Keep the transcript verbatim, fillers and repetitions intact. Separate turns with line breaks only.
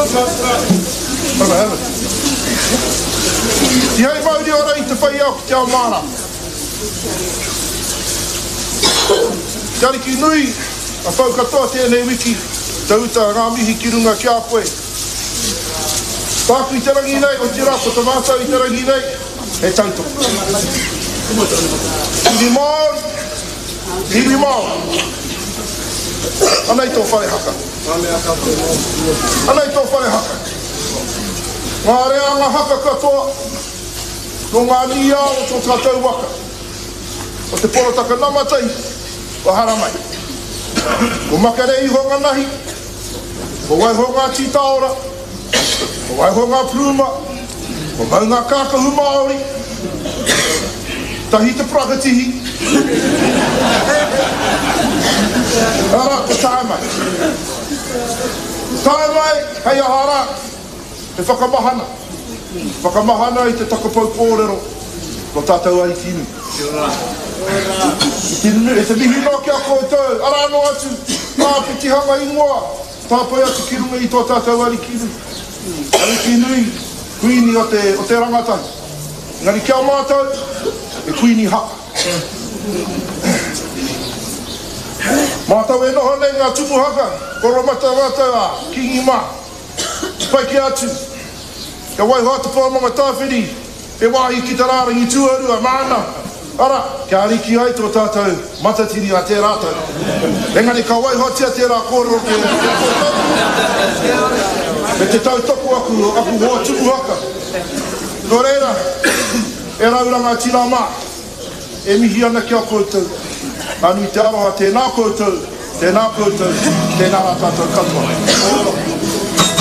Have it. Tihei mauri ora i te whai ao ki te ao mārama. Te Ariki nui, a whau katoa tēnei wiki, te uta ngā mihi ki runga ki a koe. Tāku i te rangi nei, otirā ko te mātau i te rangi nei, he tautoko. Iwi Māori, iwi Māori. Anei tō whare haka. Anei tō whare haka. Ngā reanga haka katoa, nō ngā nīao o tō tātou waka. O te porotaka namatai, o haramai. Ko makere iho ngā nahi, ko waiho ngā tītaora, ko waiho ngā pluma, ko mau ngā kākahu Māori, tahi te prakatihi. Ara, ko tae mai. Tae mai, hei aha rā, he whakamahana. Whakamahana i te takapau kōrero, ko tātou Ariki nui. I te mihi noa ki a koutou, arā noa atu, ngā pitihanga ingoa, tāpae atu ki runga i tō tātou Ariki nui. Ariki nui, kuini o te, o te rangatahi. Engari ki a mātou, e kuini haka. Mātou e noho nei ngā tumu haka, koromata mātou a Kingi mā. Pai ki atu, kia waiho atu pō Maungatautari, e wāhi ki te rārangi tuarua māna, ara, kia ariki ai tō tātou matatini a tērā tau. Engari ka waihotia tērā kōrero ki a koutou, me te tautoko aku, aku hoa tumu haka. Nō reira, e rau rangatira mā, e mihi ana ki a koutou, Anu te aroha, tēnā koutou, tēnā koutou, tēnā rā tātou katoa.